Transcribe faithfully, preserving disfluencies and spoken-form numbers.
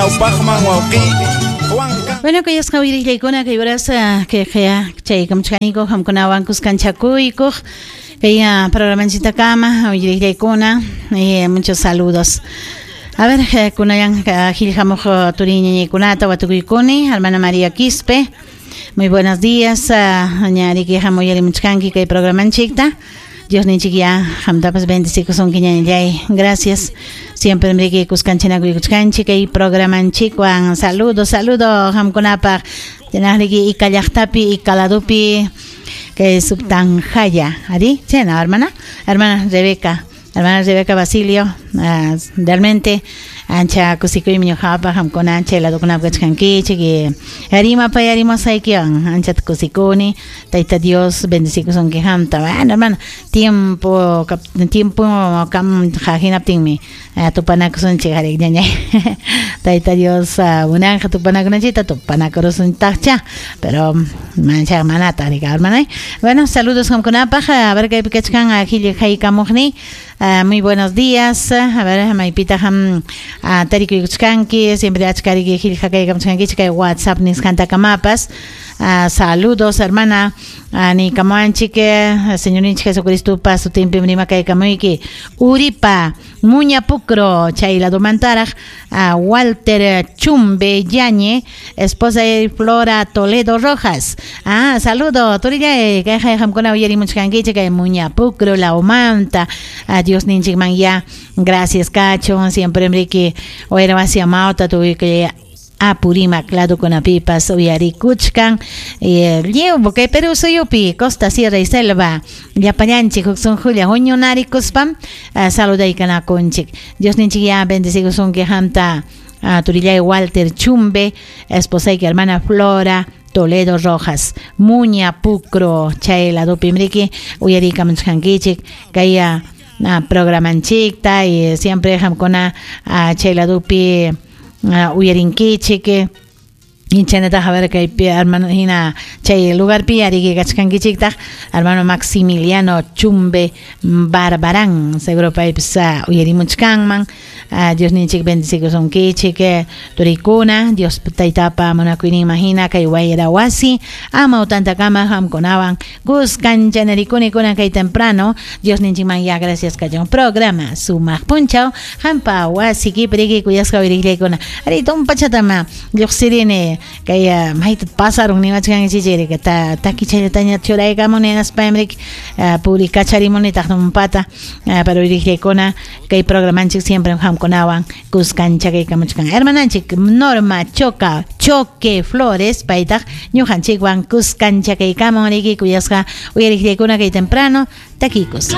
Ñawpaqman wawqi Bueno, kuyasqa uyariqllaykuna kay horas kay chay kamchkaniko hamkunawan kuskanchakuykuq kay programanchitakama uyariqllaykuna, eh, muchos saludos. A ver, kunayan qillqamuq turiñañaykunata watukuykuni, hermana María Quispe. Muy buenos días, ñariki hamuyarimuchkanki kay programanchikta. Dios ninchik ya hamtapas bendecikusunki ñañallay. Gracias. Siempre mriki kuskanchinakuykachkanchik kay programanchikwan. Saludo, saludo hamkunapaq. Tenariki Icallaqtapi, Icaladupi, kay Subtanjaya. ¿Ari? Sí, no, hermana. Hermana Rebeca. Hermana Rebeca Basilio, uh, realmente ancha kusikuymi ñuqapaq hamkuna ancha ladukunap kachkankichik y rimapay rimasaykiwan ancha kusikuni Tayta Dios bendecikusunki hamta. Bueno, hermano, tiempo tiempo kam hinaptinmi uh, tupanakusunchik arik ñañay. Tayta Dios uh, munanja tupanakunanchikta tupanakurusuntaqcha, pero mancha manata arik hermana. Bueno, saludos hamkunapaq. A ver kaypi kachkan qillqaykamuqni. Uh, muy buenos días. A ver, maypita ham uh, tarikuykuchkanki, siempre achkariki qillqakaykamuchkankichik kay WhatsApp nisqantakamapas. Uh, saludos, hermana. Uh, niykamuwanchik, Señorninchik Jesucristopa sutinpi rimakaykamuyki. Uripa, Muñapucro, chay ladomantaraq, uh, Walter Chumbe Yañe, esposa de Flora Toledo Rojas. Ah, saludo, turillay, kay hamkuna uyarimuchkankichik kay Muñapucro, la Omanta. Uh, Dios ninchikman ya, gracias cacho, siempre mriki wayra wasi amawta tukuy Apurímac ladukunapipas uyarikuchkan lliw kay Perú suyupi Costa, Sierra y Selva llapallanchik huk sunqulla huñunarikuspam saludaykanakunchik. Dios ninchik ya bendecikusunki hamta turillay Walter Chumbe, esposayki hermana Flora Toledo Rojas, Muña Pucro chay ladupi mriki uyarikamuchkankichik kay programanchikta y siempre hamkuna chay ladupi uyarinkichik. Inchanataq a ver kaypi hermano hina chay lugarpi ariki kachkankichiktaq hermano Maximiliano Chumbe Barbarán seguro paypis uyarimuchkanman. Dios ninchik bendecikusunkichik turikuna Dios taytapa munakuyninman hina kay wayra wasi amawtantakama hamkunawan kuskanchanerikuni kunan kay temprano Dios ninchikman ya gracias kachun programa sumaq punchaw hampa wasikipi riki kuyasqa uyariqllaykuna ari tumpachatama lluqsirini kay mayta pasarun niwachkankichik ta takichallataña churaykamuni hinaspamrik purikacharimuni tumpata pero uyariqllaykuna kay programanchik siempre hamkunawan kuskanchakaykamuchkan hermananchik Norma Choca Choque Flores paytaq ñuqanchikwan kuskanchakaykamun riki kuyasqa uyariqllaykuna kay temprano takikus.